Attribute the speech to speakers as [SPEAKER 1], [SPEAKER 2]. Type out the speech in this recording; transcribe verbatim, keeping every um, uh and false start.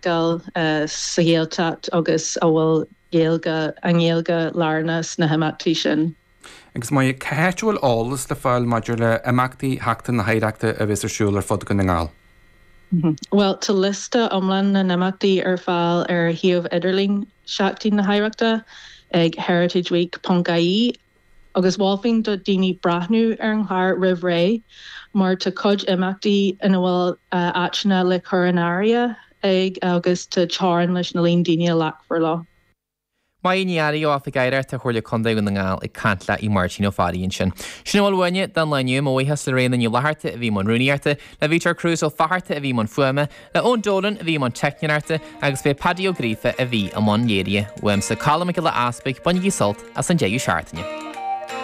[SPEAKER 1] feiceáil sa Ghaeltacht agus a bhfuil Gaeilge an Ghaeilge lárnach sna himeachtaí sin.
[SPEAKER 2] Agus Moya, cá háit a bhfuil eolas le fáil maidir le imeachtaí Sheachtain na hOidhreachta a bheas ar siúl ar fud Dhún na nGall?
[SPEAKER 1] Well tá liosta iomlán na n-imeachtaí ar fáil ar shuíomh idirlín Seachtain na hOidhreachta ag heritageweek.ie agus mholfainn do daoine breathnú ar an chlár roimh ré mar tá cuid imeachtaí ina bhfuil áiteanna le cur in áirithe ag agus tá teorainn leis na líon daoine a ghlacfar leo.
[SPEAKER 3] Moya Ní Fhearraigh ó Oifig Oidhreachta Chomhairle Contae Dhún na nGall ag caint le Máirtín Ó Fearraigh ansin. Sin a bhfuil uainne don lá inniu mo bhuíochas le Réanna Ní Fhlatharta a bhí i mbun rúnaíochta, le Vítor Cruz Ó Fatharta a bhí i mbun fuaime, le Eoin Dolan a bhí i mbun teicneoireachta agus b'é Paddy Ó Gríofa a bhí i mbun léirithe. Uaimse Colm Mac Giolla Easpaig bainigí sult as an deireadh seachtaine.